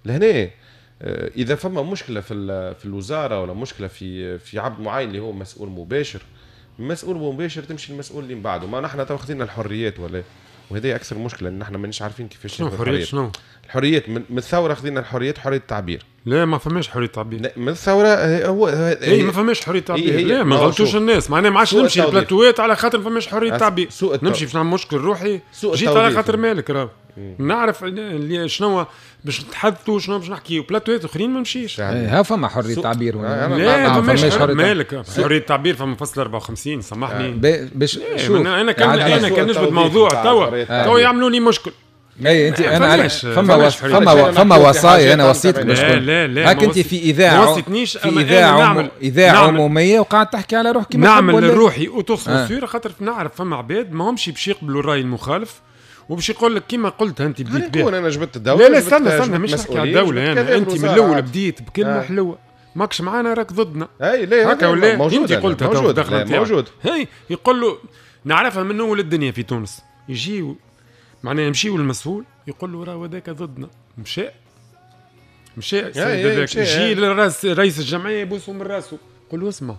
لهنا اذا فما مشكلة في الوزارة ولا مشكلة في عبد معين اللي هو مسؤول مباشر، مسؤول مباشر تمشي المسؤول اللي من بعده. ما نحن تو خذينا الحريات ولا، وهذه اكثر مشكلة ان نحن مانيش عارفين كيفاش شنو حريات. شنو الحريات؟ من الثورة خذينا الحريات، حرية التعبير. لا ما فماش حرية تعبير من الثورة. هو اي ما فماش حرية تعبير. لا ما غلطوش الناس، معناها ما عادش نمشي البلاتوات على خاطر ما فماش حرية تعبير. نمشي باش نعمل مشكل روحي، جيت على خاطر مالك راه نعرف شنو باش نتحدثوا شنو باش نحكيو. بلاتوات اخرين ما نمشيش. ها فما حرية تعبير. لا ما فماش مالك حرية تعبير. فما فصل 54 سامحني باش شوف انا كان نجبد موضوع توا يعملوا لي مشكل. اي انت انا فما وصايا، انا وصيتك باش لا هاك انت في اذاعة، في اذاعة عموميه وقاعد تحكي على روحك. نعمل لروحي autocensure خاطر نعرف فما عباد ما همش باش يقبلوا الراي المخالف وباش يقول لك كيما قلت انت بديت بها. انا جبت الدولة. لا لا استنى مش نحكي على الدولة. انا انت من الاول بديت بكلمه حلوة، ماكش معانا راك ضدنا. اي لا هكا ولا انت قلتها موجود موجود. هي يقول له نعرفها من اول الدنيا في تونس، يجي معناها يمشيو للمسؤول يقول له راه هذاك ضدنا، مشى هذاك يجي للراس رئيس الجمعية يبوسه من راسه، يقول له اسمع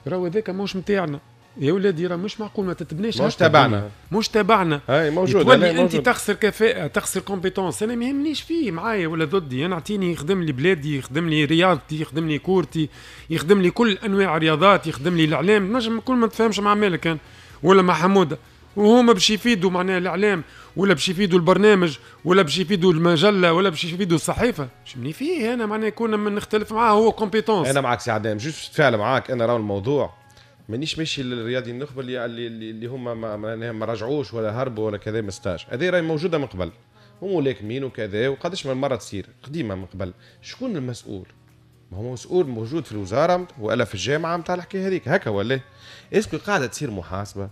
راه هذاك ماهوش نتاعنا يا ولادي، راه مش معقول ما تتبناش، مش تبعنا، مش تبعنا. اي موجود. تولي انت تخسر كفاءة، تخسر compétence. انا ما يهمنيش فيه معايا ولا ضدي، انا اعطيني يخدم لي بلادي، يخدم لي رياضتي، يخدم لي كورتي، يخدم لي كل انواع الرياضات، يخدم لي الاعلام. نجم كل ما تفهمش مع مالك كان ولا مع حموده، وهما باش يفيدوا معناها الاعلام ولا باش يفيدوا البرنامج ولا باش يفيدوا المجلة ولا باش يفيدوا الصحيفة. شمني فيه انا معناها كنا من نختلف معاه هو compétence. انا معك سي عدنان، juste تفاعل معاك. انا راهو الموضوع مانيش ماشي للرياضي النخبة اللي هما ما رجعوش ولا هربوا ولا كذا من stage. هذه راهي موجودة من قبل، وملاكمين وكذا، وقداش من مرة تصير قديمة من قبل. شكون المسؤول؟ ما هو مسؤول موجود في الوزارة والا في الجامعة نتاع الحكاية هذيك هكا ولا؟ est-ce que قاعدة تصير محاسبه؟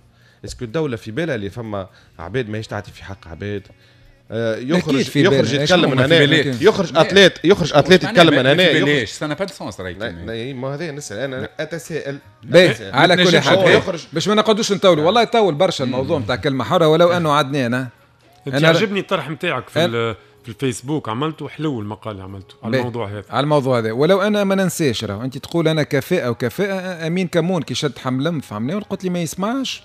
est-ce que الدولة في بالها اللي فما عباد ماهيش تعطي في حق عباد؟ يخرج يتكلم من هنا، يخرج athlète، يخرج athlète يتكلم من هنا. ليش ça n'a pas de sens رايك؟ ما هذا نسال انا، اتساءل. على كل حال باش ما نقعدوش نطولوا، والله يطول برشا الموضوع نتاع كلمة حره، ولو انه عدنان انا عجبني الطرح نتاعك في الفيسبوك، عملته حلو المقال اللي عملته على الموضوع هذا، على الموضوع هذا. ولو انا ما ننساش راهو انت تقول انا كفاءة وكفاءة. امين كمون كي شد حملم فهمني قلت لي ما يسمعش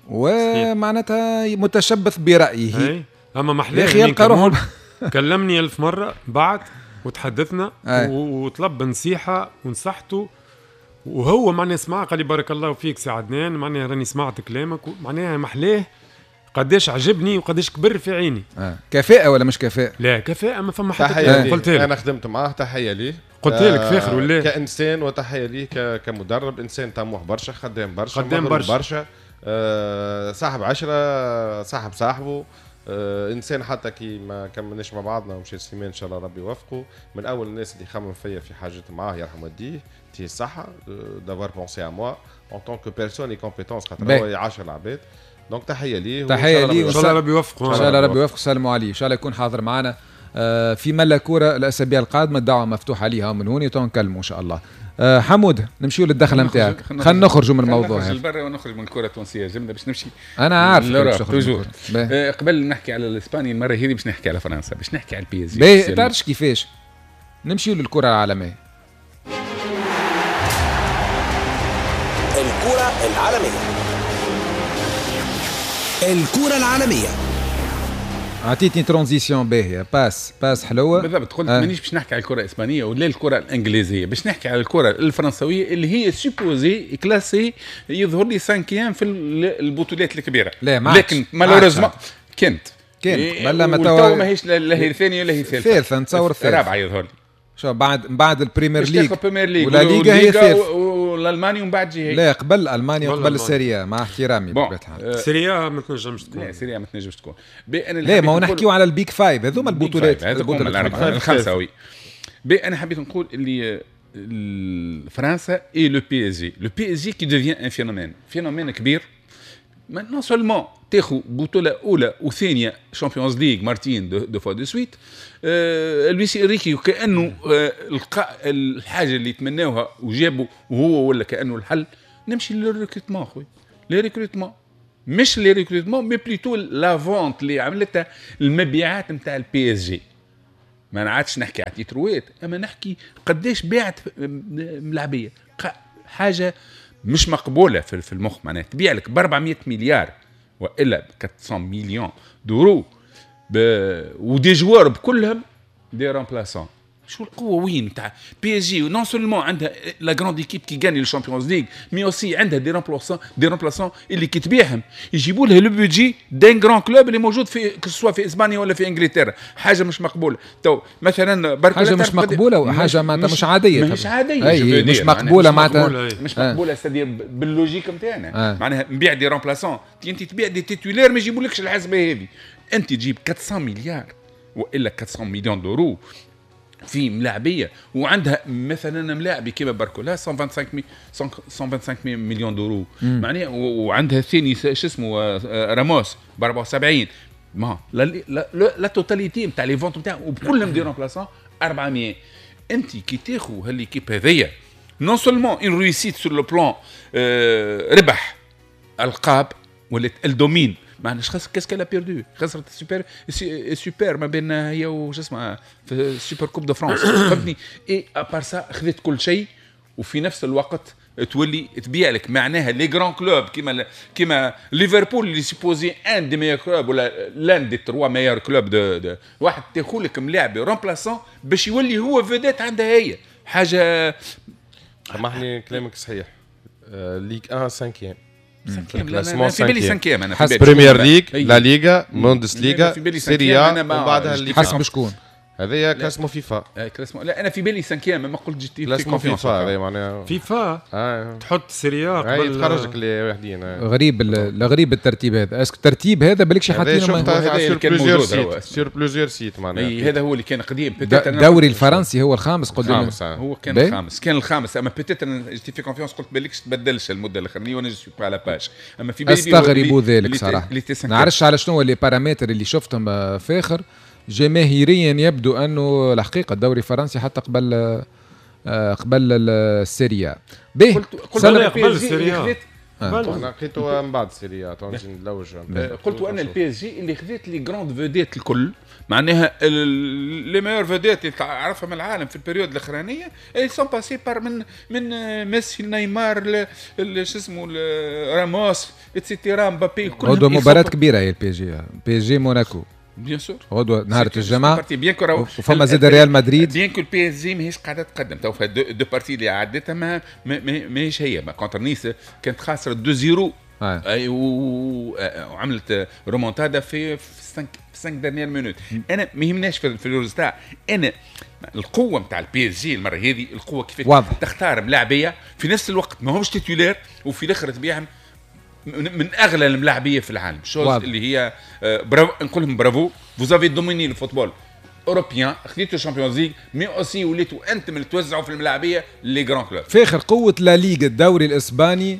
ومعناتها متشبث برايه. اما محلاه يلقى روحه. كلمني 1000 مرة بعد وتحدثنا وطلب نصيحة ونصحته، وهو معناها سمع قال لي بارك الله فيك سي عدنان، معناها راني سمعت كلامك، معناها محلاه قداش عجبني وقداش كبر في عيني. كفاءة ولا مش كفاءة؟ لا كفاءة ما فما حتى. قلت لك انا خدمت معاه، تحية ليه، قلت لك فاخر ولا كإنسان، وتحية ليه كمدرب، إنسان طموح برشا، خدام برشا، خدام برشا، صاحب عشرة، صاحب صاحبه، انسان حتى كي ما كملناش مع بعضنا ومشي سليمان ان شاء الله ربي يوفقه، من اول الناس اللي خمم فيا في حاجات معاه يرحم والديه، تي الصحة d'avoir pensé à moi en tant que personne et compétence، خاطر هو يعاشر العباد. donc تحية ليه، تحية ليه، ان شاء الله ربي يوفقه، ان شاء الله ربي يوفقه. سلموا عليه، ان شاء الله يكون حاضر معنا في ملا كورة الاسابيع القادمة. الدعوة مفتوحة ليها من هون تنكلموا ان شاء الله. حمود نمشيو للدخله نتاعك، خلينا نخرجوا من الموضوع هذا، نخرج لبرا ونخرج من الكره التونسية جملة باش نمشي. انا عارف toujours. قبل نحكي على الاسباني المرة هذه باش نحكي على فرنسا، باش نحكي على ال PSG. تعرفش كيفاش نمشيو للكرة العالمية؟ الكره العالمية، الكره العالمية. عطيتني transition باهيه، passe حلوة بالضبط. قلت مانيش باش نحكي على الكره الاسبانية ولا الكره الانجليزية، باش نحكي على الكره الفرنسويه اللي هي supposée classée يظهر لي cinquième في البطولات الكبيرة. لا لكن malheureusement كانت بلا ما توا ماهيش لا هي الثانية ولا هي الثالثة، الثالثة نتصور الثالثة الرابعة يظهر لي. شو بعد البريمير ليج ولا ليغا هي الثالثة والالماني ومن بعد جي. لا قبل المانيا وقبل ال Serie A، مع احترامي بطبيعة الحال. Serie A ما تنجمش تكون، لا Serie A ما تنجمش تكون. لا ما هو نحكيو على ال Big Five، هذوما البطولات الخمسة. oui انا حبيت نقول اللي فرنسا et le PSG، le PSG qui devient un phénomène، phénomène كبير. non seulement تاخذ بطوله اولى وثانيه Champions League مرتين deux fois de suite. لويس انريكي كانه لقى الحاجة اللي يتمناوها وجابوا وهو ولا كانه الحل. نمشي لل recrutement خويا، les recrutements مش les recrutements mais plutôt la vente اللي عملتها، المبيعات نتاع ال PSG. ما عادش نحكي على تيتروات، اما نحكي قداش باعت ملاعبيه، حاجة مش مقبولة في المخ. معناها تبيع لك ب 400 مليار والا 400 millions d'euros و des joueurs بكلهم des remplaçants. شو القوة وين تاع PSG؟ non seulement عندها la grande équipe qui gagne ال Champions League، mais aussi عندها des remplaçants اللي كي تبيعهم يجيبوا لها le budget d'un grand club اللي موجود في سواء في اسبانيا ولا في انجلترا. حاجة مش مقبولة. تو مثلا حاجة مش مقبولة وحاجه معناتها مش عادية. مش عاديه. مش مقبولة معناتها مش مقبوله، c'est-à-dire بال logique نتاعنا معناها نبيع des remplaçants، انت تبيع des titulaires ما يجيبولكش الحسبة هذه. انت تجيب 400 مليار والا 400 millions d'euros في ملاعبيه، وعندها مثلا ملاعبي كيما باركولا 125 millions d'euros معناها، وعندها الثاني شو اسمه راموس ب 74. ما la totalité نتاع les ventes نتاعهم وبكلهم des remplaçants 400. انت كي تاخذ هال équipe هذيا، non seulement une réussite sur le plan ربح القاب ولات elle domine. معناها qu'est-ce qu'elle a perdu؟ خسرت ال super super ما بين هي وش اسمها في ال super coupe de France، فهمتني؟ et à part ça خذت كل شيء، وفي نفس الوقت تولي تبيع لك معناها les grands clubs كيما ليفربول اللي supposé un des meilleurs clubs ولا l'un des trois meilleurs clubs de واحد تاخذ لك ملاعب remplaçant باش يولي هو vedette عندها هي حاجه. سامحني، كلامك صحيح، Ligue 1 5 في بالي cinquième انا. حسب Premier League، لا ليغا، بوندس ليغا، Serie A، ومن بعدها اللي حسب شكون؟ هذايا classement FIFA. classement، لا انا في بالي cinquième، ما قلت جيتي classement FIFA هذا معناها. فيفا تحط Serie A. قبل تخرجك اللي واحدين. غريب، الغريب الترتيب هذا، est-ce que الترتيب هذا بالكش حاطينه sur plusieurs sites، sur plusieurs sites معناها. هذا هو اللي كان قديم. الدوري الفرنسي هو الخامس قدام. هو كان الخامس، كان الخامس، اما peut-être j'étais fait confiance، قلت بالكش تبدلش المدة الاخرانية وانا je suis pas à la page، اما في بالي استغرب ذلك صراحه، نعرفش على شنو les paramètres اللي شفتهم فاخر. جماهيريا يبدو انه الحقيقة الدوري الفرنسي حتى قبل ال Serie A. به قلت قبل ال Serie A، انا لقيته من بعد ال Serie A نلوج. قلت انا ال PSG اللي خذت les grandes vedettes الكل، معناها les meilleures vedettes اللي تعرفهم العالم في ال période الاخرانيه، ils sont passés par من ميسي، نيمار، شو اسمه، راموس، et cetera، مبابي. غدوه مباراة كبيرة هي ال PSG، PSG موناكو. bien sûr. غدوه نهار الجمعه، وفما زاد ريال مدريد. bien que ال PSG ماهيش قاعدة تقدم تو في deux parties اللي عدتها، ما ماهيش هي. ما contre نيس كانت خاسرة 2-0 اي وعملت رومونتادا في 5 dernières minutes. انا ما يهمناش في ال résultat، انا القوة نتاع ال PSG المرة هذه، القوة كيف تختار ملاعبيه في نفس الوقت ما همش titulaires وفي الاخر تبيعهم من اغلى الملاعبيه في العالم، chose اللي هي برافو، نقول لهم bravo، vous avez dominé le football européen، خذيتوا Champions League، mais aussi وليتوا انتم اللي توزعوا في الملاعبيه les grands clubs. فاخر، قوة لا ليغا، الدوري الاسباني،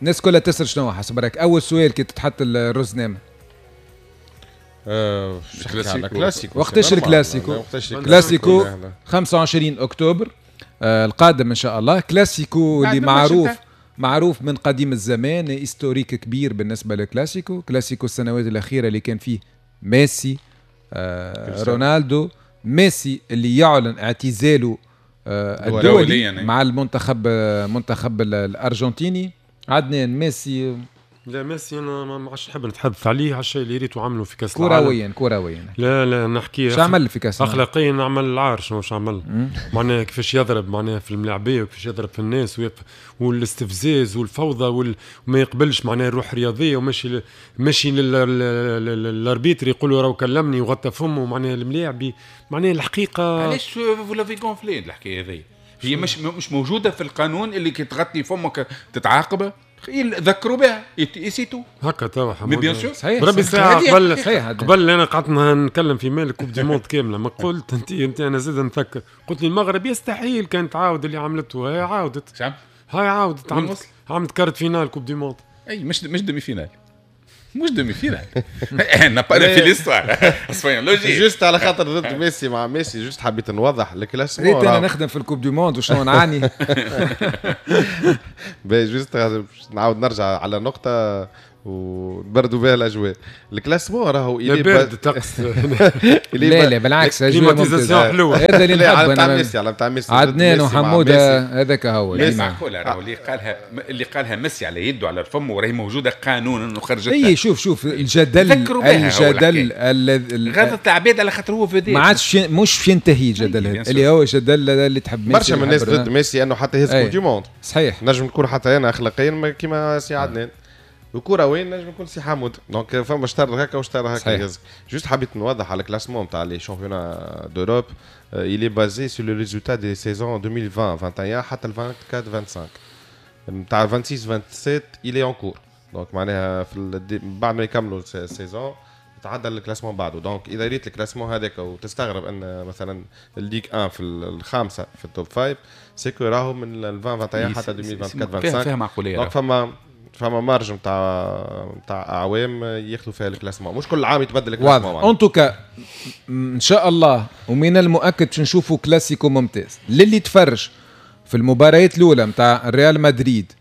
الناس كلها تسال شنو حسب رايك اول سؤال كي تتحط الرزنامه؟ كلاسيكو. وقتاش الكلاسيكو؟ كلاسيكو 25 اكتوبر القادم ان شاء الله. كلاسيكو اللي معروف معروف من قديم الزمان، historique كبير بالنسبة للكلاسيكو. كلاسيكو السنوات الاخيرة اللي كان فيه ميسي، رونالدو، ميسي اللي يعلن اعتزاله الدولي يعني مع المنتخب، منتخب الارجنتيني. عدنان، ميسي؟ لا، ميسي انا ما عادش نحب نتحدث عليه، على الشيء اللي ريته عمله في كاس العالم. كرويا كرويا. لا لا، نحكي شو عمل في كاس؟ اخلاقيا عمل العار. شنو عمل؟ معناها كيفاش يضرب معناها في الملاعبيه وكيفاش يضرب في الناس والاستفزاز والفوضى وما يقبلش معناها الروح الرياضيه، وماشي ماشي لل arbitre يقول له راهو كلمني وغطى فمه معناها الملاعبي معناها الحقيقه. علاش vous l'avez gonflé الحكاية هذه؟ هي مش موجودة في القانون اللي كي تغطي فمك تتعاقب؟ ذكروا بها et c'est tout. هكا توا. bien sûr. صحيح. بربي ساعة قبل صحيح. قبل انا قعدت نتكلم في مالك coupe du monde كاملة، ما قلت انت انا زاد نفكر، قلت لي المغرب يستحيل كان تعاود اللي عملته، هاي عاودت. هاي عاودت، عملت quart de finale coupe du monde. اي مش demi-finale، مش demi-finale، n'a pas fait l'histoire، soyons logiques. juste على خاطر ضد ميسي، مع ميسي، juste حبيت نوضح ال classement. ريت انا نخدم في ال coupe du monde وشنو نعاني. باهي، juste نعاود نرجع على نقطة. ونبردوا بها الاجواء. ال classement راهو بارد الطقس. لا لا بالعكس، اجواء حلوة. هذا اللي نحب انا ميسي، على نتاع ميسي، عدنان وحموده هذاك هو. معقولة راهو اللي قالها ميسي على يده على الفم، وراهي موجودة قانونا انه خرجت. اي شوف الجدل غلطت العباد على خاطر هو vedette، ما عادش مش ينتهي الجدل هذا اللي هو جدل اللي تحب ميسي. برشا من الناس ضد ميسي انه حتى يهز coupe du monde. صحيح، نجم نكون حتى انا اخلاقيا كيما سي عدنان، الكرة وين نجم يكون سي حمود، donc فما شطر هكا وشطر هكا. juste حبيت نوضح على ال classement تاع les championnats d'Europe، il est basé sur le résultat des saisons 2020 21 حتى 24 25 نتاع 26 27 il est en cours. donc معناها في بعد ما يكملوا ال saison تعدل ال classement بعده. donc اذا ريت ال classement هذاك وتستغرب ان مثلا ال Ligue 1 في الخامسة في ال top 5، c'est que راهو من 2021 حتى 2024 25 فيها معقوليه. donc فما marge نتاع اعوام ياخذوا فيها ال classement، مش كل عام يتبدل ال classement. en tout cas ان شاء الله ومن المؤكد باش نشوفوا كلاسيكو ممتاز. للي تفرج في المباريات الاولى نتاع ريال مدريد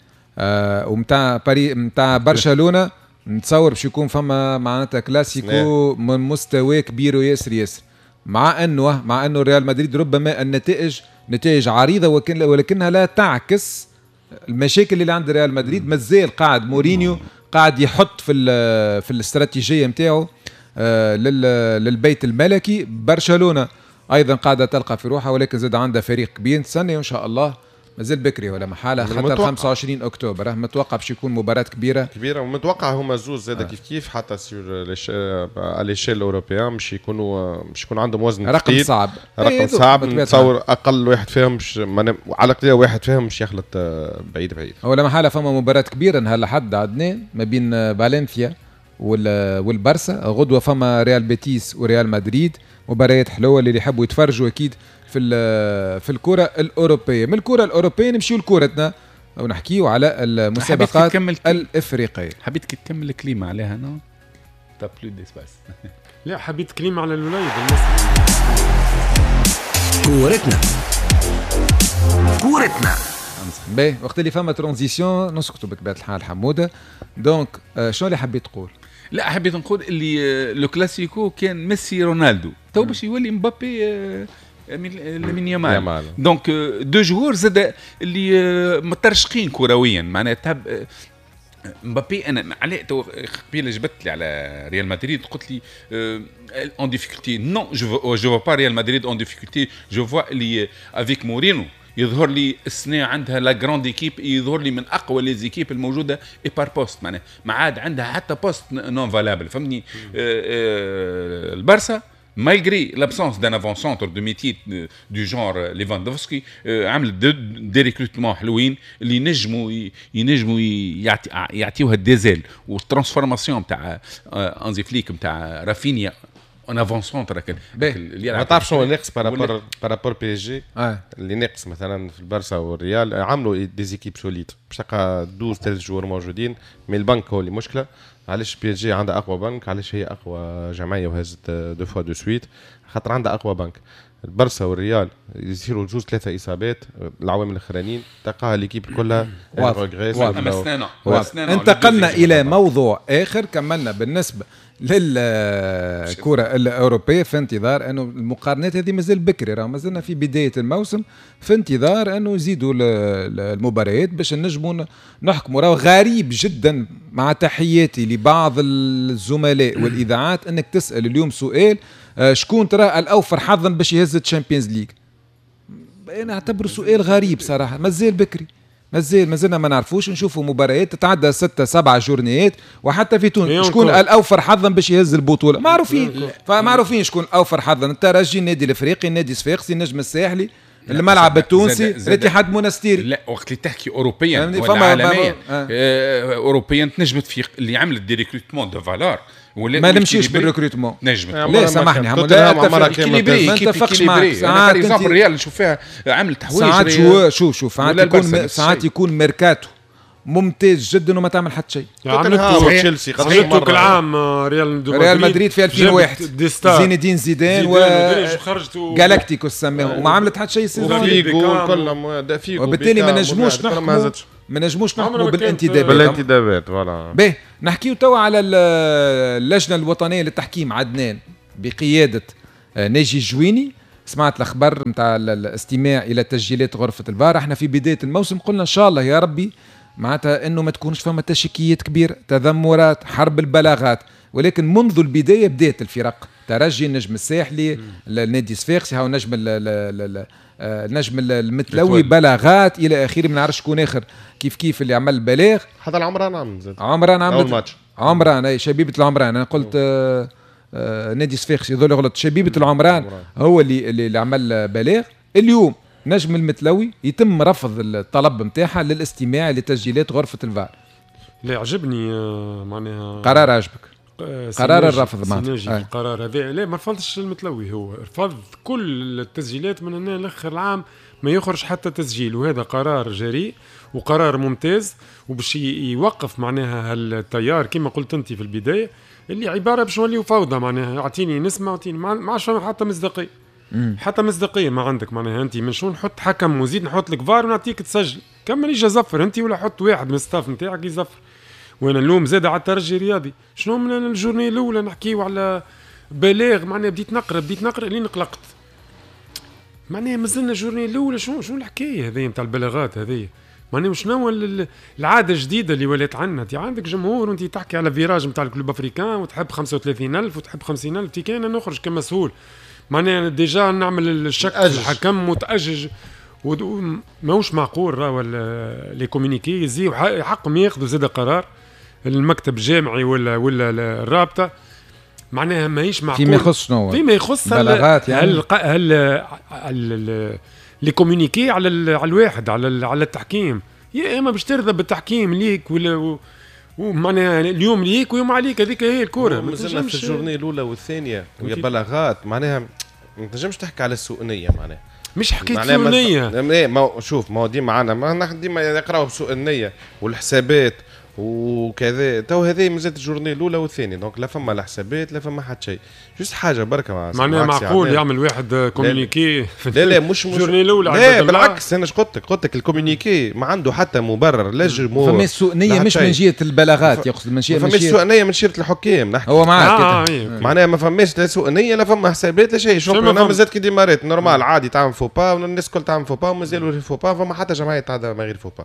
ومتاع باري نتاع برشلونة، نتصور باش يكون فما معناتها كلاسيكو من مستوى كبير وياسر ياسر، مع انه ريال مدريد ربما النتائج نتائج عريضة ولكنها لا تعكس المشاكل اللي عند ريال مدريد. مازال قاعد مورينيو قاعد يحط في الاستراتيجية نتاعو للبيت الملكي. برشلونة ايضا قاعدة تلقى في روحها، ولكن زاد عندها فريق كبير. نستنى ان شاء الله، مازال بكري ولا محالة، حتى 25 اكتوبر متوقع باش يكون مباراة كبيرة، ومتوقع هما زوز زاد كيف كيف حتى sur l'échelle européenne مش يكون عندهم وزن رقم صعب، رقم صعب. نتصور اقل واحد فيهم مش على قليل واحد فيهم مش يخلط بعيد بعيد. ولا محالة فما مباراة كبيرة نهار الأحد عدنان ما بين فالنسيا والبرسا، غدوه فما ريال بيتيس وريال مدريد، مباريات حلوة اللي يحبوا يتفرجوا اكيد في الكره الاوروبية. من الكره الاوروبية نمشيو لكرتنا ونحكيو على المسابقات الافريقية. حبيت تكمل كلمة عليها non t'as plus d'espace. لا حبيت كلمة على الوليد المصري. كورتنا باهي، وقت اللي فما transition نسكتوا بطبيعة الحال حموده. donc شنو اللي حبيت تقول؟ لا حبيت نقول اللي le classico كان ميسي رونالدو، تو باش يولي مبابي لامين يامال. donc deux joueurs زاد اللي مترشقين كرويا، معناها تحب مبابي. انا علاه تو قبيلة جبت لي على ريال مدريد، قلت لي en difficulté. non je vois pas ريال مدريد en difficulté، je vois اللي avec مورينو يظهر لي السنة عندها la grande équipe، يظهر لي من اقوى les équipes الموجودة et par poste، معناها ما عاد عندها حتى poste non valable، فهمتني. البارسا malgré l'absence d'un avant-centre de métier du genre Lewandowski، عمل des recrutements حلوين اللي ينجموا يعطيوها des ailes وال transformation تاع هانزي فليك نتاع رافينيا en avant-centre. ما تعرف شنو ناقص par rapport PSG؟ اللي ناقص مثلا في البارسا والريال عملوا des équipes solides باش تلقى 12 13 joueurs موجودين، mais ال banc هو اللي مشكلة. علاش PSG عندها اقوى بنك؟ علاش هي اقوى جمعية وهزت deux fois de suite؟ خاطر عندها اقوى بنك. البرسا والريال يصيروا جوز ثلاثة اصابات العوامل الاخرانيين تلقاها l'équipe كلها انتقلنا الى موضوع اخر. كملنا بالنسبة للكرة الاوروبية، في انتظار انه المقارنات هذه مازال بكري، راه مازلنا في بداية الموسم، في انتظار انه يزيدوا المباريات باش نجموا نحكموا. راه غريب جدا، مع تحياتي لبعض الزملاء والاذاعات، انك تسال اليوم سؤال شكون ترى الاوفر حظا باش يهز ال Champions League؟ انا اعتبره سؤال غريب صراحة، مازال بكري، مازلنا ما نعرفوش. نشوفوا مباريات تتعدى 6 7 journées، وحتى في تونس شكون الاوفر حظا باش يهز البطولة معروفين، فمعروفين شكون الاوفر حظا: الترجي، النادي الافريقي، النادي الصفاقسي، النجم الساحلي، الملعب التونسي، الاتحاد المونستيري. لا وقت اللي تحكي اوروبيا ولا عالميا، اوروبيا تنجمت في اللي عملت des recrutements de valeur، ما نمشيش بال recrutement. نجمت لا سامحني، ما نتفقش معك. ساعات par exemple الريال نشوف فيها عملت حوايج، ساعات joueur شوف ساعات يكون ميركاتو ممتاز جدا وما تعمل حتى شيء. عملت تشيلسي كل عام ريال مدريد في 2001 زين الدين زيدان و جالاكتيكوس سماهم، وما عملت حتى شيء. saison وبالتالي ما نجموش نحكموا ما نجموش نحكموا بالانتدابات. بالانتدابات voilà. باهي، نحكيو توا على اللجنة الوطنية للتحكيم عدنان بقيادة ناجي الجويني. سمعت الاخبار نتاع الاستماع الى تسجيلات غرفة الفار. احنا في بداية الموسم قلنا ان شاء الله يا ربي معناتها انه ما تكونش فما تشكيات كبيرة، تذمرات، حرب البلاغات، ولكن منذ البداية بدات الفرق، ترجي، النجم الساحلي، النادي الصفاقسي، هاو نجم النجم المتلوي، بلاغات الى اخره، ما نعرفش شكون اخر كيف كيف اللي عمل بلاغ. حتى العمران عمل زاد. عمران عمل عمران، اي شبيبة العمران، انا قلت نادي صفاقسي يظل غلط، شبيبة العمران هو اللي عمل بلاغ. اليوم نجم المتلوي يتم رفض الطلب نتاعها للاستماع لتسجيلات غرفة الفار. لا عجبني معناها قرار عجبك؟ قرار الرفض معناتها القرار هذا. لا ما رفضش المتلوي، هو رفض كل التسجيلات من هنا لاخر العام ما يخرج حتى تسجيل، وهذا قرار جريء وقرار ممتاز وباش يوقف معناها التيار كما قلت انت في البداية اللي عبارة باش نوليو فوضى، معناها اعطيني نسمع اعطيني ما عادش حتى مصداقية، حتى مصداقية ما عندك. معناها انت من شو نحط حكم وزيد نحط لك فار ونعطيك تسجل، كمل يجي زفر انت ولا حط واحد من ال staff نتاعك يزفر. وانا اللوم زاد على الترجي الرياضي، شنو من ال journée الاولى نحكيو على بلاغ، معناها بديت نقرا لين قلقت، معناها مازلنا ال journée الاولى، شنو الحكاية هذه نتاع البلاغات هذه؟ معناها شنو العادة الجديدة اللي ولات عندنا؟ انت عندك جمهور وانت تحكي على virage نتاع ال Club Africain وتحب 35,000 وتحب 50,000، تي كان نخرج كمسؤول معناها déjà نعمل الشك في الحكم وتأجج، ماهوش معقول. راهو les communiqués يزيو حقهم ياخذوا زاد قرار المكتب الجامعي ولا الرابطة، معناها ماهيش معقول. فيما يخص شنو؟ فيما يخص بلاغات يعني هل les communiqués على الواحد على التحكيم، يا اما باش ترضى بالتحكيم ليك ولا ومعناها اليوم ليك ويوم عليك، هذيك هي الكورة. مازلنا في ال journée الاولى والثانية ويا بلاغات، معناها ما تنجمش تحكي على سوء نيه، معناها مش حكاية سوء نيه. ما شوف ما هو ديما عندنا ما ديما يقراو بسوء النية والحسابات وكذا. تو هذه مازالت ال journée الاولى والثانية، donc لا فما لا حسابات لا فما حتى شيء، juste حاجة بركة. معناها معقول يعمل واحد communiqué؟ لا لا مش ال journée الاولى، لا بالعكس. انا قلت لك ال communiqué ما عنده حتى مبرر، لا جمهور. فما سوء نيه مش من جهة البلاغات، يقصد من جهة فما سوء نيه من جهة الحكام نحكي. هو معاك معناها ما فماش لا سوء نيه لا فما حسابات لا شيء. شوف انا مازالت كي démarrات normal عادي تعمل faux pas والناس الكل تعمل faux pas ومازالوا faux pas، فما حتى جمعية تعدى من غير faux pas.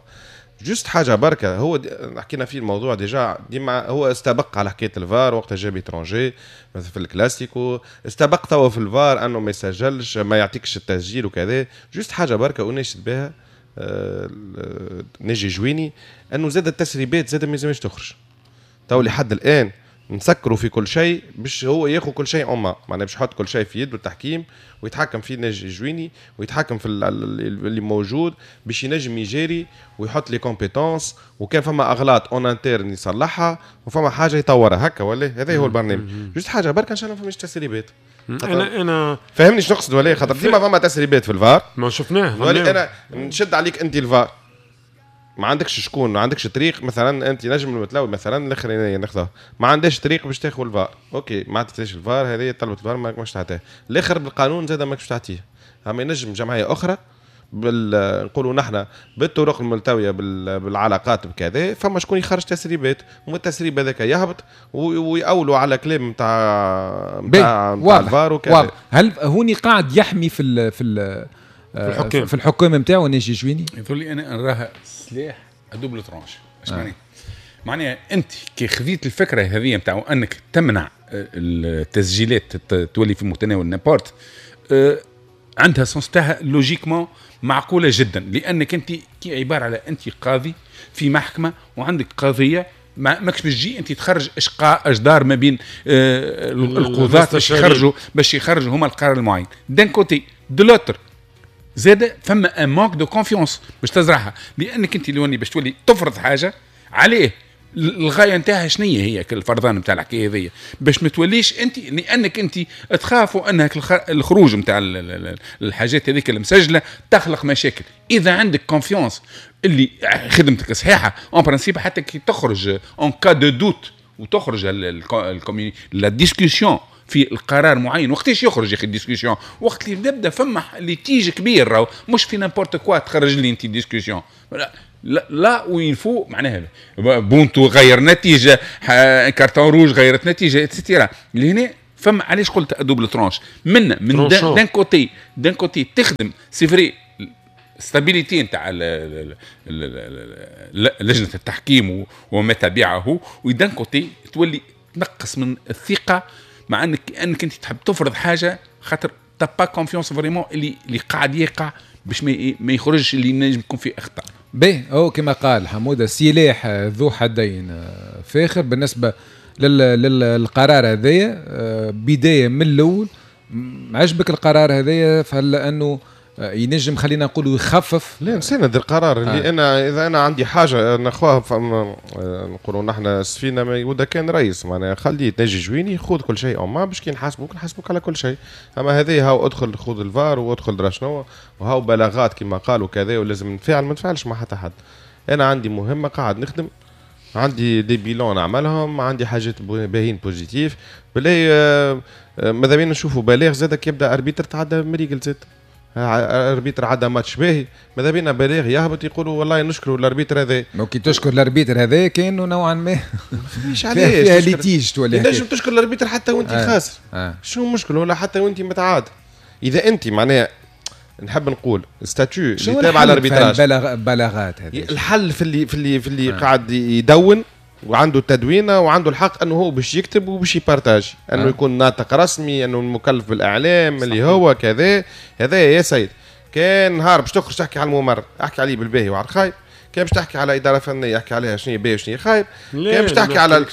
juste حاجة بركة هو حكينا فيه الموضوع déjà، ديما هو استبق على حكاية الفار وقت جاب étranger مثلا في الكلاسيكو، استبق توا في الفار انه ما يسجلش ما يعطيكش التسجيل وكذا. juste حاجة بركة وناشد بها ناجي جويني انه زاد التسريبات زاد ما يلزمش تخرج. تو لحد الان نسكروا في كل شيء باش هو ياخذ كل شيء en main، معناها باش يحط كل شيء في يده التحكيم ويتحكم فيه ناجي جويني ويتحكم في اللي موجود باش ينجم يجاري ويحط les compétences، وكان فما اغلاط en interne يصلحها وفما حاجة يطورها هكا ولا. هذا هو البرنامج. juste حاجة برك ان شاء الله ما فماش تسريبات. انا فهمني شنو نقصد ولا؟ خاطر ديما فما تسريبات في الفار ما شفناه. انا نشد عليك انت الفار ما عندكش شكون، ما عندكش طريق مثلا انت نجم المتلوي مثلا الاخرين ناخذه ما عندهاش طريق باش تاخذ الفار، OK ما عطيتش الفار، هذه طلبت الفار ما ماكش تعطيه. الاخر بالقانون زاد ماكش تعطيه، اما ينجم جمعية اخرى نقولوا نحن بالطرق الملتوية بالعلاقات بكذا، فما شكون يخرج تسريبات والتسريب هذاك يهبط ويأولوا على كلام نتاع الفار وكذا. هل هوني قاعد يحمي في في الحكام في الحكام نتاعو ناجي جويني؟ يقول لي انا نراها سلاح double tranchant. اش معناها؟ معناها انت كي خذيت الفكرة هذه نتاع انك تمنع التسجيلات تولي في متناول n'importe، عندها sens تاعها logiquement معقولة جدا، لانك انت كي عبارة على انت قاضي في محكمة وعندك قضية ماكش باش تجي انت تخرج اجدار ما بين القضاة باش يخرجوا هما القرار المعين. d'un côté de l'autre زاد فما un manque de confiance باش تزرعها، لانك انت اللي باش تولي تفرض حاجة عليه الغاية نتاعها شنية هي الفرضان نتاع الحكاية هذيا باش ما توليش انت، لانك انت تخافوا انك الخروج نتاع الحاجات هذيك المسجلة تخلق مشاكل. اذا عندك confiance اللي خدمتك صحيحه en principe حتى كي تخرج en cas de doute وتخرج la discussion في القرار معين، وقتاش يخرج يا اخي ال discussion؟ وقت اللي نبدا فما litige كبير، راهو مش في n'importe quoi تخرج لي انت discussion. là où il faut، معناها but غير نتيجه، carton rouge غيرت نتيجه، et cetera. لهنا فما علاش قلت double tranche من d'un côté تخدم c'est vrai stabilité نتاع لجنة التحكيم وما تبعه، و d'un côté تولي تنقص من الثقه، مع انك انت تحب تفرض حاجة خاطر t'as pas confiance vraiment اللي قاعد يقع باش ما يخرجش اللي نجم يكون فيه اخطاء. باهي، هو كما قال حموده سلاح ذو حدين فاخر بالنسبة للقرار هذايا. بداية من الاول، عجبك القرار هذايا؟ فهل انه ينجم خلينا نقولوا يخفف؟ لا، نساند القرار اللي انا اذا انا عندي حاجة ناخوها، نقولوا نحن السفينة ما يقودها كان رئيس، معناها خلي ناجي جويني خذ كل شيء en main باش كي نحاسبوك نحاسبوك على كل شيء. اما هذه هاو ادخل خذ الفار وادخل درا شنو وهاو بلاغات كما قالوا كذا ولازم نتفاعل، ما نتفاعلش مع حتى حد. انا عندي مهمه، قاعد نخدم، عندي des bilans نعملهم، عندي حاجات باهين positifs. بالله ماذا بينا نشوفوا بلاغ زاد كي يبدا arbitre تعدى مريقل، زاد arbitre عدى ماتش باهي، ماذا بينا بلاغ يهبط يقولوا والله نشكروا ال arbitre هذا. كي تشكر ال arbitre هذا كانه نوعا ما مش علاش فيها litige تولي. تنجم تشكر ال arbitre حتى وانت خاسر. شنو المشكل؟ ولا حتى وانت متعادل. اذا انت معناها نحب نقول statut اللي تابع ال arbitrage. البلاغات هذه الحل في اللي قاعد يدون وعنده التدوينه وعنده الحق انه هو باش يكتب وباش ي partage، انه يكون ناطق رسمي، انه المكلف بالاعلام اللي هو كذا. هذا يا سيد كان نهار باش تخرج تحكي على الممرن احكي عليه بالباهي وعلى الخايب، كان باش تحكي على ادارة فنية احكي عليها شنو باهي وشنو خايب، كان باش تحكي على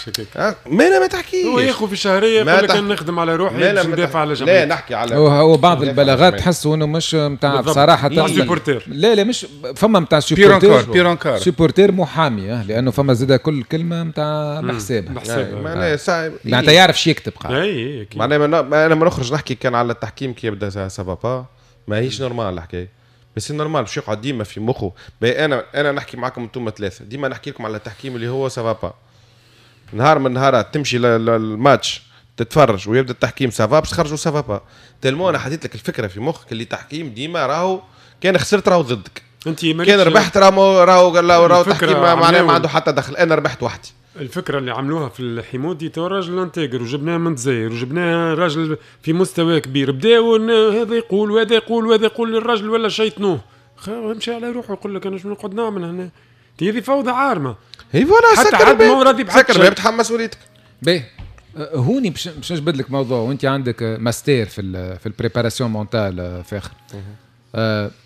ما لا ما تحكيش. هو ياخذ في شهرية يقول لك نخدم على روحي باش ندافع على جمعيتي. لا، نحكي على هو بعض البلاغات تحسوا انه مش نتاع بصراحه. supporter. لا لا، مش فما نتاع supporter، pire encore. supporter محامي، لانه فما زاد كل كلمة نتاع بحسابها. بحسابها. معناها معناتها يعرف شو يكتب. قاعد اي. معناها انا ما نخرج نحكي كان على التحكيم كي يبدا ça va pas، ماهيش normal الحكايه، بس normal باش يقعد ديما في مخه. انا نحكي معكم انتم ثلاثه، ديما نحكي لكم على التحكيم اللي هو ça va pas. نهار من نهارات تمشي للماتش تتفرج ويبدا التحكيم ça va، باش تخرجوا ça va pas، tellement انا حطيت لك الفكرة في مخك اللي تحكيم ديما راهو كان خسرت راهو ضدك، انت كان ربحت راهو التحكيم معناه ما عنده حتى دخل، انا ربحت وحدي. الفكرة اللي عملوها في الحمودي تو راجل intègre وجبناه من الجزائر وجبناه راجل في مستوى كبير، بداو هذا يقول وهذا يقول وهذا يقول، للراجل ولا شيطنوه، مشى على روحه، يقول لك انا شنو نقعد نعمل هنا؟ هذه فوضى عارمه. هي voilà. حتى حد ما راضي بحد. سكر بتحمل مسؤوليتك. باهي، هوني باش نجبد لك موضوع وانت عندك ماستير في ال préparation mentale فاخر.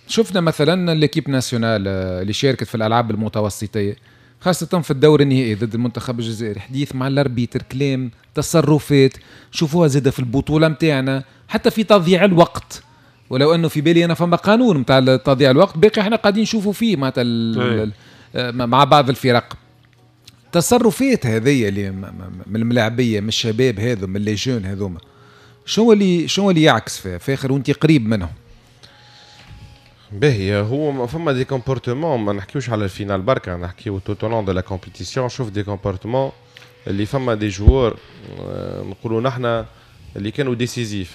شفنا مثلا l'équipe nationale اللي شاركت في الالعاب المتوسطيه، خاصة في الدور النهائي ضد المنتخب الجزائري، حديث مع ال arbitre، كلام، تصرفات، شوفوها زادة في البطولة متاعنا، حتى في تضييع الوقت، ولو انه في بالي انا فما قانون نتاع تضييع الوقت، باقي احنا قاعدين نشوفوا فيه معناتها مع بعض الفرق. التصرفات هذه اللي من الملاعبيه، من الشباب هذو، من les jeunes هذوما، شنو اللي يعكس فيها فاخر وانت قريب منهم؟ باهي، هو فما des comportements، ما نحكيوش على ال finale بركه، نحكيو tout au long de la compétition. شوف des comportements اللي فما des joueurs نقولوا نحن اللي كانوا décisifs،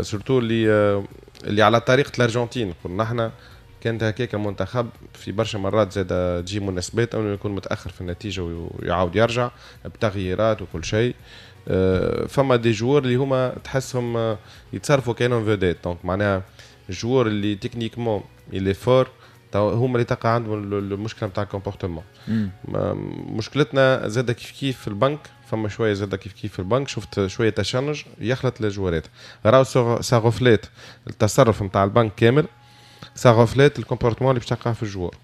surtout اللي على طريقه الارجنتين. نقول نحن كانت هكاك المنتخب في برشا مرات زاد تجي مناسبات انه يكون متاخر في النتيجة ويعاود يرجع بتغييرات وكل شيء. فما des joueurs اللي هما تحسهم يتصرفوا كانهم vedettes، donc معناها ال joueur اللي techniquement il est fort هما اللي تلقى عندهم المشكلة نتاع ال comportement. مشكلتنا زاد كيف كيف في البنك، فما شوية زاد كيف كيف في البنك، شفت شوية تشنج يخلط الجوارات، راهو ça reflète التصرف نتاع البنك كامل، ça reflète ال comportement اللي باش تلقاه في ال joueur.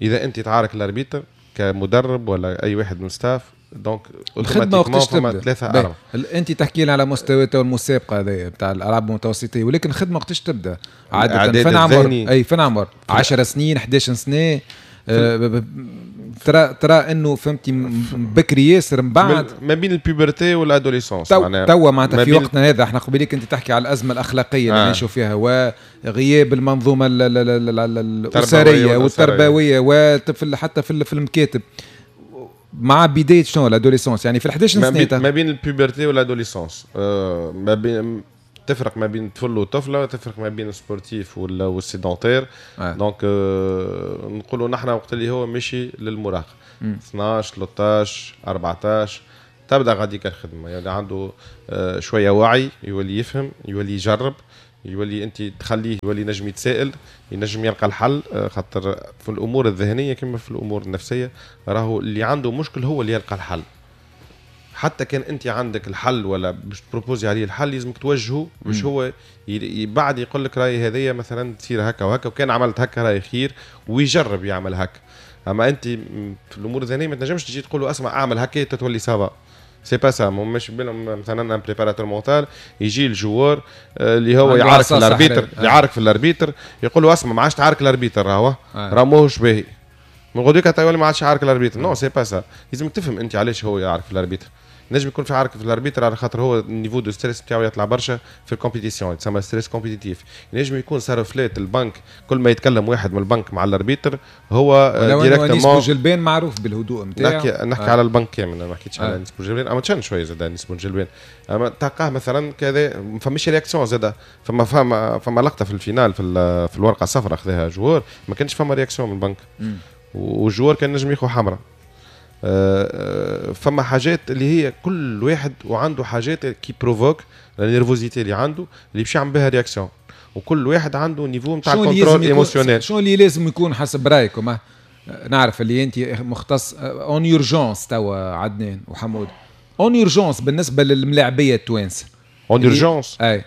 اذا انت تعارك ال arbitre كمدرب ولا اي واحد من staff، donc الخدمة وقتاش تبدا؟ ثلاثة اربعه. انت تحكي لنا على مستوى المسابقة هذه بتاع الالعاب المتوسطيه، ولكن الخدمة وقتاش تبدا؟ عادة فين عمر؟ اي فين عمر؟ 10 سنين، 11 سنه؟ ترى انه فهمتي بكري ياسر من بعد. ما بين ال puberté وال adolescence. توا معناتها في وقتنا هذا احنا قبيليك انت تحكي على الازمة الاخلاقية اللي نعيشوا فيها وغياب المنظومة الاسرية والتربوية وطفل حتى في المكاتب، مع بداية شنو؟ l'adolescence، يعني في ال 11 سنه. ما بين ال puberté وال adolescence، ما بين تفرق ما بين طفل وطفله، تفرق ما بين ال sportif وال sédentaire. donc نقولوا نحن وقت اللي هو ماشي للمراهقه 12 13 14 تبدا غاديك الخدمة، يعني عنده شوية وعي، يولي يفهم، يولي يجرب، يولي انت تخليه يولي نجم يتسائل، ينجم يلقى الحل. خاطر في الامور الذهنية كما في الامور النفسية راهو اللي عنده مشكل هو اللي يلقى الحل. حتى كان انت عندك الحل ولا باش ت proposer عليه الحل لازمك توجهه باش هو بعد يقول لك راي هذيا مثلا تصير هكا وهكا، وكان عملت هكا راي خير، ويجرب يعمل هكا. اما انت في الامور الذهنية ما تنجمش تجي تقول له اسمع اعمل هكا تتولي ça va، c'est pas ça. مش بالهم مثلا un préparateur mental يجي ال joueur اللي هو يعارك في ال arbitre، يعارك في ال arbitre، يقول له اسمع ما عادش تعارك ال arbitre، راهو راه ماهوش باهي، من غدوك تولي ما عادش يعارك ال arbitre. non c'est pas ça. لازمك تفهم انت علاش هو يعارك في ال arbitre. نجم يكون في عارك في ال arbitre على خاطر هو ال niveau de stress بتاعو يطلع برشا في ال compétition، تسمى stress compétitif. نجم يكون صار فلات البنك، كل ما يتكلم واحد من البنك مع ال arbitre هو directement. بوجلبان معروف بالهدوء نتاعو. نحكي على البنك كامل، ما حكيتش على انيس بوجلبان، اما تشان شوية زاد انيس بوجلبان، اما تلقاه مثلا كذا ما فماش réaction زاد. فما لقطة في ال finale في الورقة الصفراء خذاها joueur، ما كانش فما réaction من البنك، وال joueur كان نجم ياخذ حمراء. فما حاجات اللي هي كل واحد وعنده حاجات qui provoquent la nervosité اللي عنده اللي باش يعمل بها réaction، وكل واحد عنده niveau نتاع ال contrôle émotionnel. شنو اللي لازم يكون حسب رايكم؟ نعرف اللي انت مختص en urgence توا عدنان وحمود، en urgence بالنسبة للملاعبيه التوانسة en urgence اي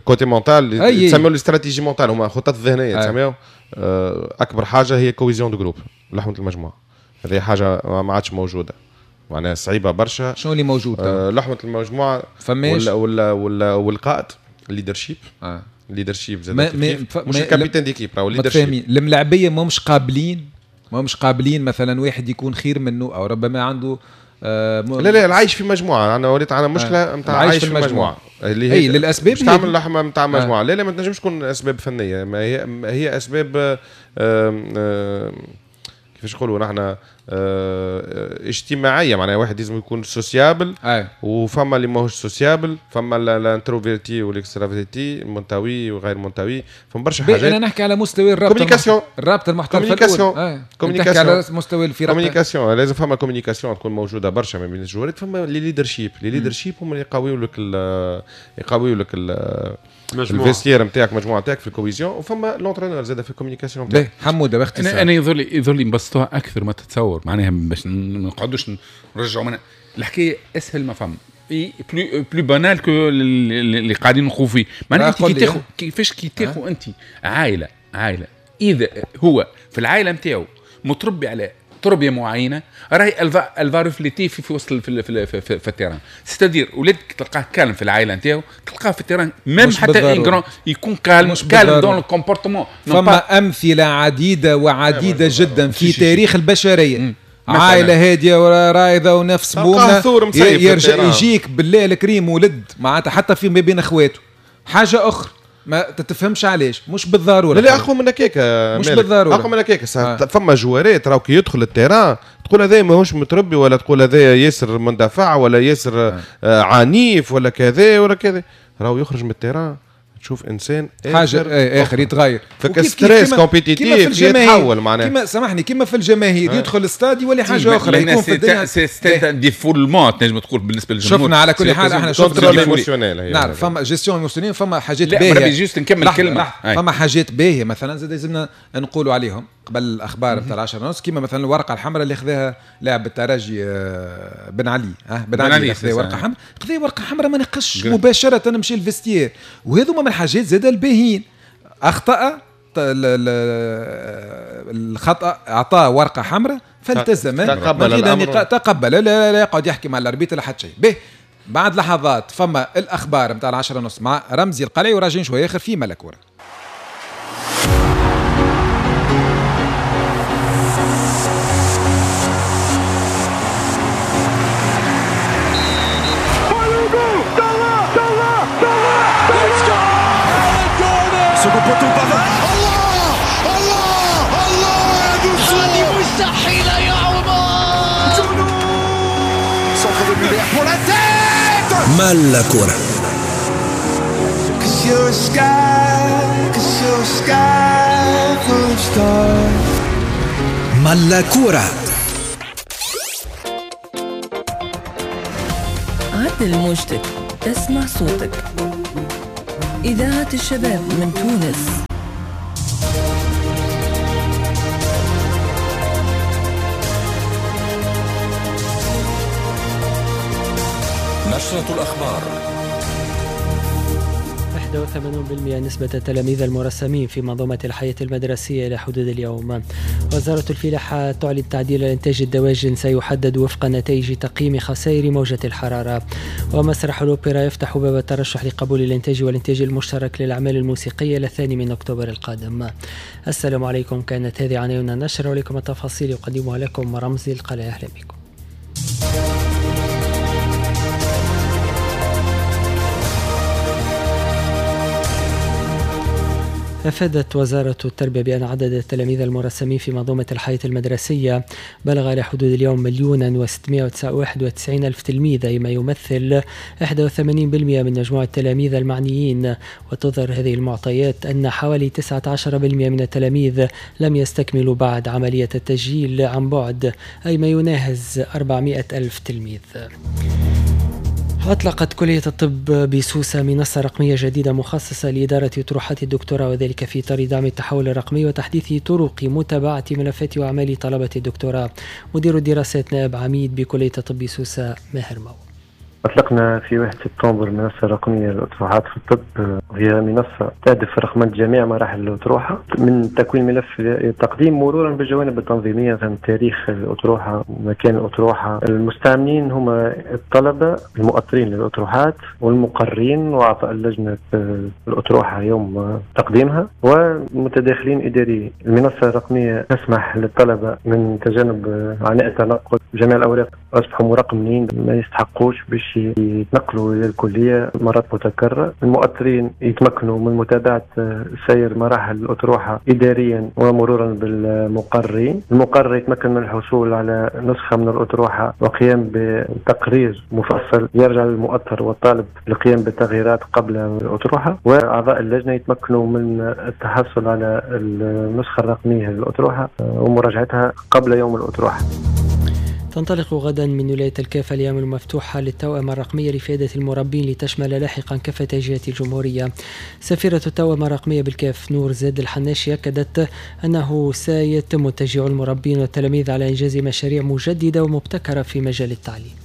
côté mental تسميو les stratégies mentales، هما خطط ذهنية تسميو. اكبر حاجة هي cohésion de groupe، لحمه المجموعة، هذه حاجة ما عادش موجودة، معناها صعيبة برشا. شنو اللي موجود؟ لحمه المجموعة فماش ولا ولا والقائد ال leadership. ال leadership زاد مش ال capitaine d'équipe، راهو ال leadership. الملاعبيه ماهمش قابلين، ماهمش قابلين مثلا واحد يكون خير منه او ربما عنده لا لا العيش في مجموعة. انا وليت على مشكلة نتاع العيش في مجموعة اللي هي للاسباب تعمل لحمه نتاع مجموعة. لا لا ما تنجمش تكون اسباب فنية، ما هي اسباب كيفاش نقولوا نحن اجتماعية، معناها واحد لازم يكون sociable وفما اللي ماهوش sociable، فما ال introverti وال extraverti، منطوي وغير منطوي، فما برشا حاجات. انا نحكي على مستوى الرابطة، الرابطة المحترفه، communication، على مستوى الفرق، communication لازم فما communication تكون موجودة برشا ما بين الجوارات. فما les leadership، les leadership هما اللي يقويوا لك ال vestiaire نتاعك، المجموعة نتاعك في ال cohésion، وفما l'entraîneur زاد في ال communication نتاعك. حموده باختصار انا يظهر لي نبسطوها اكثر ما تتصور، معناها باش ما نقعدوش نرجعوا من الحكاية اسهل ما فما plus banal que اللي قاعدين نخوض فيه. معناها انت كي تاخذ كيفاش كي تاخذ انت عائلة اذا هو في العائلة نتاعو متربي على تربيه معينة، راهي elle va refléter في وسط في في في, في ال terrain. c'est-à-dire ولادك تلقاه calme في العائلة نتاعو، تلقاه في ال terrain même حتى un grand يكون calme calme dans le comportement. فما امثلة عديدة وعديده جدا في تاريخ البشرية، عائلة هادية ورايضه ونفس مؤمنة، يرجع يجيك بالله الكريم ولد معناتها حتى في ما بين اخواته حاجة اخرى ما تتفهمش علاش، مش بالضرورة. لا اقوى من هكاك، مش بالضرورة اقوى من هكاك. فما جوارات راهو كي يدخل ال terrain تقول هذا ماهوش متربي، ولا تقول هذا ياسر مندفع، ولا ياسر عنيف، ولا كذا ولا كذا، راهو يخرج من ال terrain تشوف انسان حاجة اخر يتغير. فك stress compétitif يتحول معناها. كيما سامحني كيما في الجماهير يدخل الاستاد يولي حاجة اخرى، يكون في الدنيا c'est défoulement تنجم تقول بالنسبة للجمهور. شفنا على كل حال احنا شفنا نعرف فما gestion émotionnelle، فما حاجات باهيه. juste نكمل كلمة، فما حاجات باهيه مثلا زاد لازمنا نقولوا عليهم قبل الاخبار نتاع 10:30، كيما مثلا الورقة الحمراء اللي خذاها لاعب الترجي بن علي، بن علي خذا ورقة حمراء، خذا ورقة حمراء ما نقش مباشرة مشى ال vestiaire. وهذوما من الحاجات زاد الباهين. اخطا الخطا، اعطاه ورقة حمراء فالتزم، تقبل لا, لا يقعد يحكي مع ال arbitre لا حتى شيء. به بعد لحظات فما الاخبار نتاع 10:30 مع رمزي القلعي، وراجعين شوية اخر في ملكوره. مالكورة. you're a sky, 'cause you're a sky full of stars. ملا كورة. عدل موجتك، اسمع صوتك. إذاعة الشباب من تونس. نشرة الأخبار. 81% نسبة التلاميذ المرسمين في منظومة الحياة المدرسية إلى حدود اليوم. وزارة الفلاحة تعلن تعديل إنتاج الدواجن سيحدد وفق نتائج تقييم خسائر موجة الحرارة. ومسرح الأوبرا يفتح باب الترشح لقبول الإنتاج والإنتاج المشترك للأعمال الموسيقية ل2 أكتوبر القادم. السلام عليكم، كانت هذه عناوين النشرة ولكم التفاصيل يقدمها لكم رمزي القلاء. أهلا بكم. أفادت وزارة التربية بأن عدد التلاميذ المرسمين في منظومة الحياة المدرسية بلغ إلى حدود اليوم 1,691,000 تلميذ، أي ما يمثل 81% من مجموع التلاميذ المعنيين. وتظهر هذه المعطيات أن حوالي 19% من التلاميذ لم يستكملوا بعد عملية التسجيل عن بعد، أي ما يناهز 400,000 تلميذ. أطلقت كلية الطب بسوسة منصة رقمية جديدة مخصصة لإدارة طروحات الدكتوراه، وذلك في إطار دعم التحول الرقمي وتحديث طرق متابعة ملفات وأعمال طلبة الدكتوراه. مدير الدراسات نائب عميد بكلية الطب سوسة ماهر مو. أطلقنا في 1 سبتمبر منصة رقمية للأطروحات في الطب، وهي منصة تهدف رقمنة جميع مراحل الأطروحة من تكوين ملف التقديم مرورا بالجوانب التنظيمية، مثلا تاريخ الأطروحة، مكان الأطروحة. المستعملين هم الطلبة المؤطرين للأطروحات والمقرين وأعضاء لجنة الأطروحة يوم تقديمها ومتداخلين إداريين. المنصة الرقمية تسمح للطلبة من تجنب عناء التنقل، جميع الأوراق أصبحوا مرقمين ما يستحقوش باش يتنقلوا إلى الكلية مرات متكررة. المؤطرين يتمكنوا من متابعة سير مراحل الأطروحة إداريا ومرورا بالمقررين. المقرر يتمكن من الحصول على نسخة من الأطروحة وقيام بتقرير مفصل يرجع للمؤطر والطالب للقيام بالتغييرات قبل الأطروحة، وأعضاء اللجنة يتمكنوا من التحصل على النسخة الرقمية للأطروحة ومراجعتها قبل يوم الأطروحة. تنطلق غدا من ولاية الكاف الأيام المفتوحة للتوأمة الرقمية لفائدة المربين لتشمل لاحقا كافة جهات الجمهورية. سفيرة التوأمة الرقمية بالكاف نور زاد الحناشي أكدت أنه سيتم تشجيع المربين والتلاميذ على إنجاز مشاريع مجددة ومبتكرة في مجال التعليم.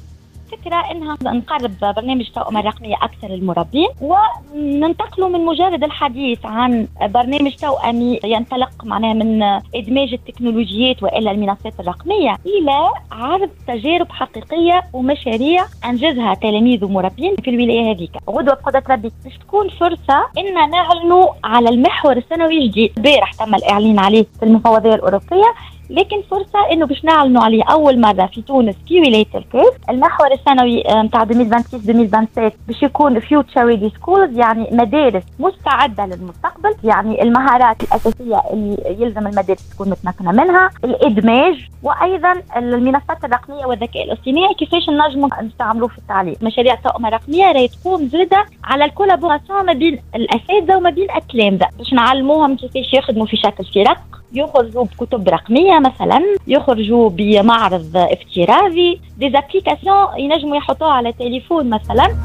فكرة انها نقرب برنامج توأمة الرقمية اكثر للمربين وننتقلوا من مجرد الحديث عن برنامج توأمي ينطلق معناها من ادماج التكنولوجيات والى المنصات الرقمية الى عرض تجارب حقيقية ومشاريع انجزها تلاميذ ومربين في الولاية هذيك. غدوة بقدرة ربي باش تكون فرصة ان نعلنوا على المحور السنوي الجديد. البارح تم الاعلان عليه في المفوضية الأوروبية، لكن فرصة انه باش نعلنوا عليه اول مرة في تونس في ولاية الكاف. المحور السنوي نتاع 2026 2027 باش يكون future ready schools، يعني مدارس مستعدة للمستقبل، يعني المهارات الاساسية اللي يلزم المدارس تكون متمكنة منها، الادماج، وايضا المنصات الرقمية والذكاء الاصطناعي كيفاش نجموا نستعملوه في التعليم. مشاريع التوأمة الرقمية راهي تقوم زاده على ال collaboration ما بين الاساتذة وما بين التلامذة باش نعلموهم كيفاش يخدموا في شكل فرق، يخرجوا بكتب رقمية مثلا، يخرجوا بمعرض افتراضي، des applications ينجموا يحطوها على تليفون مثلا.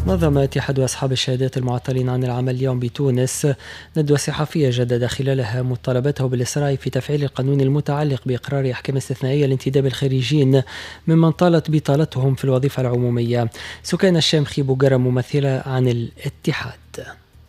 نظم اتحاد أصحاب الشهادات المعطلين عن العمل اليوم بتونس ندوة صحفية جدد خلالها مطالبته بالإسراع في تفعيل القانون المتعلق بإقرار أحكام استثنائية لانتداب الخريجين ممن طالت بطالتهم في الوظيفة العمومية. سكان الشامخي بوقرة ممثلة عن الاتحاد.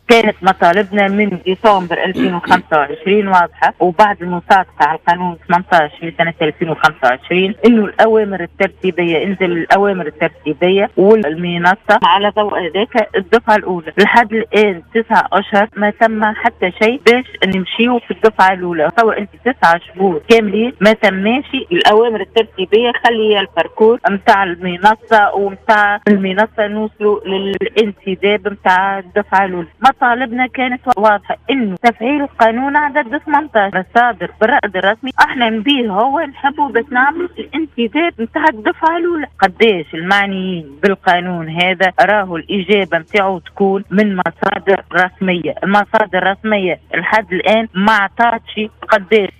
كانت مطالبنا من ديسمبر 2025 واضحة، وبعد المصادقة على القانون 18 لسنة 2025 انه الاوامر الترتيبية، انزل الاوامر الترتيبية والمنصة على ضوء هذاك الدفعة الاولى. لحد الان 9 اشهر ما تم حتى شيء باش نمشيو في الدفعة الاولى. تصور انت 9 شهور كاملين ما تماش الاوامر الترتيبية، خلي ال parcours نتاع المنصة ومتاع المنصة نوصلوا للانتداب نتاع الدفعة الاولى. مطالبنا كانت واضحة، انه تفعيل قانون عدد 18 الصادر بالرأي الرسمي، احنا نبيه هو نحبه باش نعملوا الانتداب نتاع الدفعة الاولى. قداش المعنيين بالقانون هذا راهو الاجابة نتاعو تكون من مصادر رسمية، المصادر الرسمية لحد الان ما عطاتش قداش.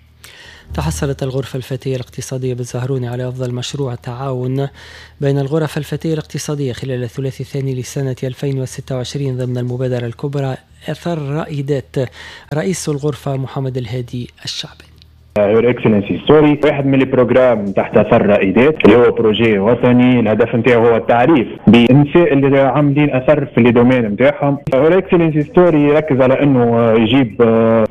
تحصلت الغرفة الفتية الاقتصادية بالزهروني على أفضل مشروع تعاون بين الغرف الفتية الاقتصادية خلال الثلاثي الثاني لسنة 2026 ضمن المبادرة الكبرى أثر رائدات. رئيس الغرفة محمد الهادي الشعبي. Her Excellency Story واحد من les programmes تحت اثر رائدات، اللي هو projet وطني، الهدف نتاعو هو التعريف بالنساء اللي عاملين اثر في les domaines نتاعهم. Her Excellency Story يركز على انه يجيب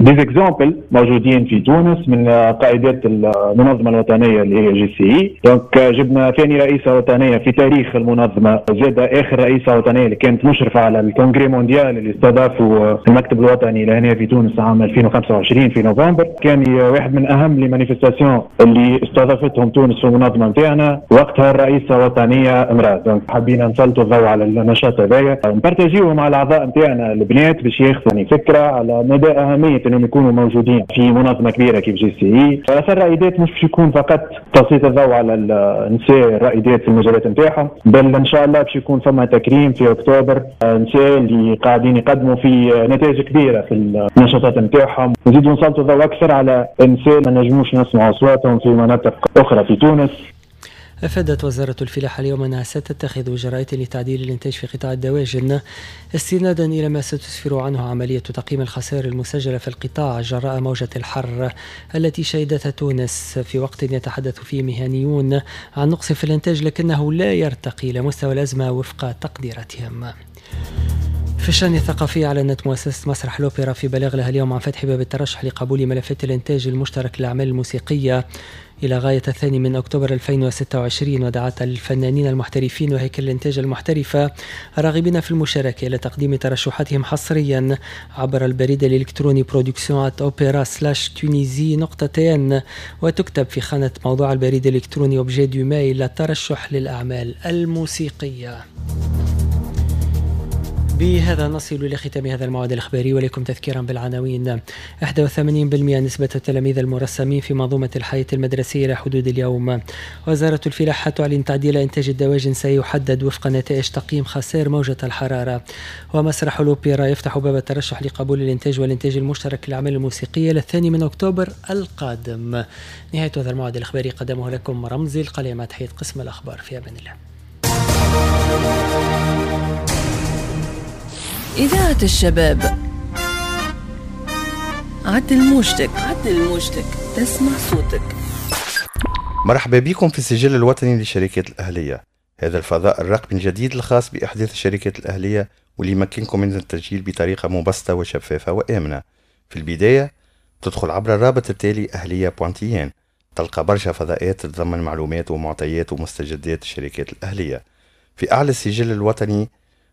des exemples موجودين في تونس من قائدات المنظمة الوطنية اللي هي JCI. donc جبنا ثاني رئيسه وطنية في تاريخ المنظمة، زاد اخر رئيسه وطنية اللي كانت مشرفة على ال congrès mondial اللي استضافة المكتب الوطني لهنا في تونس عام 2025 في نوفمبر. كان واحد من اهم les manifestations اللي استضافتهم تونس في المنظمة نتاعنا، وقتها الرئيسة الوطنية امراة. donc حبينا نسلطوا الضوء على النشاط هذايا، نبارتاجيوه مع الاعضاء نتاعنا البنات باش ياخذوا فكرة على مدى اهمية انهم يكونوا موجودين في منظمة كبيرة كيف JCI. اثر الرائدات مش باش يكون فقط تسليط الضوء على النساء الرائدات في المجالات نتاعهم، بل ان شاء الله باش يكون فما تكريم في اكتوبر نساء اللي قاعدين يقدموا في نتائج كبيرة في النشاطات نتاعهم. نزيدوا نسلطوا الضوء اكثر على النساء ما نجموش نسمعوا اصواتهم في مناطق اخرى في تونس. أفادت وزارة الفلاحة اليوم أنها ستتخذ إجراءات لتعديل الإنتاج في قطاع الدواجن استنادا إلى ما ستسفر عنه عملية تقييم الخسائر المسجلة في القطاع جراء موجة الحر التي شهدتها تونس، في وقت يتحدث فيه مهنيون عن نقص في الإنتاج لكنه لا يرتقي إلى مستوى الأزمة وفق تقديراتهم. في الشأن الثقافي، أعلنت مؤسسة مسرح الأوبرا في بلاغ لها اليوم عن فتح باب الترشح لقبول ملفات الإنتاج المشترك للأعمال الموسيقية إلى غاية 2 أكتوبر 2026، ودعت الفنانين المحترفين وهيكل الإنتاج المحترفة الراغبين في المشاركة إلى تقديم ترشحاتهم حصريا عبر البريد الإلكتروني production@opera/tunisie.tn، وتكتب في خانة موضوع البريد الإلكتروني objet du mail الترشح للأعمال الموسيقية. بهذا نصل إلى ختام هذا الموعد الإخباري، ولكم تذكيرا بالعناوين. 81% نسبة التلاميذ المرسمين في منظومة الحياة المدرسية إلى حدود اليوم. وزارة الفلاحة تعلن تعديل إنتاج الدواجن سيحدد وفق نتائج تقييم خسائر موجة الحرارة. ومسرح الأوبرا يفتح باب الترشح لقبول الإنتاج والإنتاج المشترك للأعمال الموسيقية ل2 أكتوبر القادم. نهاية هذا الموعد الإخباري قدمه لكم رمزي القليل مع تحية قسم الأخبار. في أمان الله. إذاعة الشباب، عدل موجتك، عدل موجتك، تسمع صوتك. مرحبا بكم في السجل الوطني للشركات الأهلية، هذا الفضاء الرقمي الجديد الخاص بإحداث الشركات الأهلية واللي يمكنكم من التسجيل بطريقة مبسطة وشفافة وآمنة. في البداية تدخل عبر الرابط التالي أهلية.tn، تلقى برشا فضاءات تتضمن معلومات ومعطيات ومستجدات الشركات الأهلية. في أعلى السجل الوطني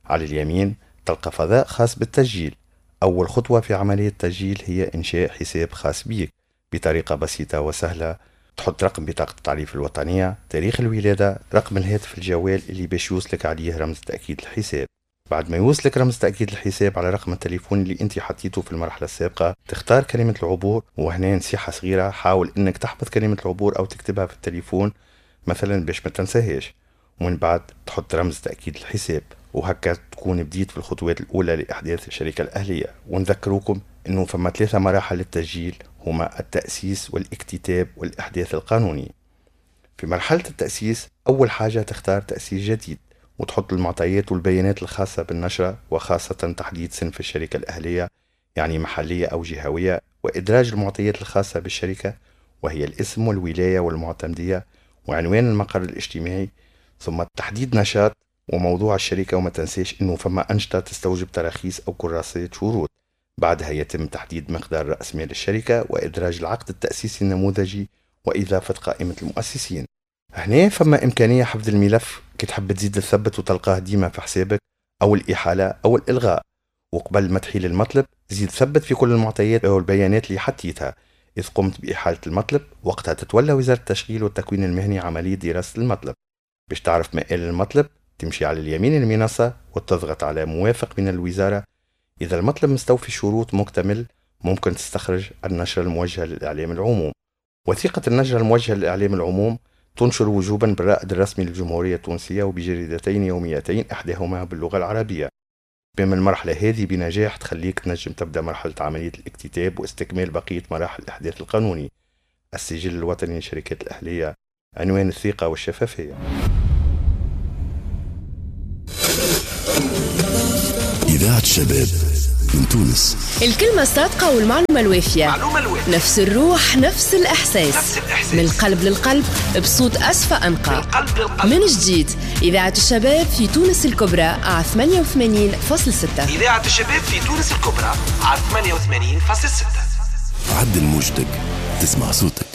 على اليمين تلقى فضاء خاص بالتسجيل. أول خطوة في عملية التسجيل هي إنشاء حساب خاص بيك بطريقة بسيطة وسهلة. تحط رقم بطاقة التعريف الوطنية، تاريخ الولادة، رقم الهاتف الجوال اللي باش يوصلك عليه رمز تأكيد الحساب. بعد ما يوصلك رمز تأكيد الحساب على رقم التليفون اللي انت حطيته في المرحلة السابقة، تختار كلمة العبور. وهنا نصيحة صغيرة، حاول انك تحفظ كلمة العبور او تكتبها في التليفون مثلا باش ما تنساهاش. ومن بعد تحط رمز تأكيد الحساب، وهكا تكون بديت في الخطوات الأولى لإحداث الشركة الأهلية. ونذكروكم أنه فما 3 مراحل للتسجيل، هما التأسيس والاكتتاب والإحداث القانوني. في مرحلة التأسيس أول حاجة تختار تأسيس جديد وتحط المعطيات والبيانات الخاصة بالنشرة، وخاصة تحديد صنف الشركة الأهلية يعني محلية أو جهوية، وإدراج المعطيات الخاصة بالشركة وهي الاسم والولاية والمعتمدية وعنوان المقر الاجتماعي، ثم تحديد نشاط وموضوع الشركة. وما تنساش انه فما أنشطة تستوجب تراخيص أو كراسات شروط. بعدها يتم تحديد مقدار رأس مال الشركة وإدراج العقد التأسيسي النموذجي وإضافة قائمة المؤسسين. هنا فما إمكانية حفظ الملف كي تحب تزيد تثبت وتلقاه ديما في حسابك، أو الإحالة أو الإلغاء. وقبل ما تحيل المطلب زيد ثبت في كل المعطيات أو البيانات اللي حطيتها. إذ قمت بإحالة المطلب وقتها تتولى وزارة التشغيل والتكوين المهني عملية دراسة المطلب. باش تعرف مآل المطلب تمشي على اليمين المنصة وتضغط على موافق من الوزارة. إذا المطلب مستوفي شروط مكتمل ممكن تستخرج النشرة الموجهة للإعلام العموم. وثيقة النشرة الموجهة للإعلام العموم تنشر وجوبا بالرائد الرسمي للجمهورية التونسية وبجريدتين يوميتين إحداهما باللغة العربية. بما المرحلة هذه بنجاح تخليك تنجم تبدأ مرحلة عملية الاكتتاب واستكمال بقية مراحل الإحداث القانوني. السجل الوطني للشركات الأهلية، عنوان الثقة والشفافية. إذاعة شباب من تونس. الكلمة الصادقة والمعلومة الوافية، نفس الروح، نفس الإحساس، من القلب للقلب، بصوت أصفى أنقى. من جديد إذاعة الشباب في تونس الكبرى على 88.6. إذاعة الشباب في تونس الكبرى على 88.6. عدل موجتك تسمع صوتك.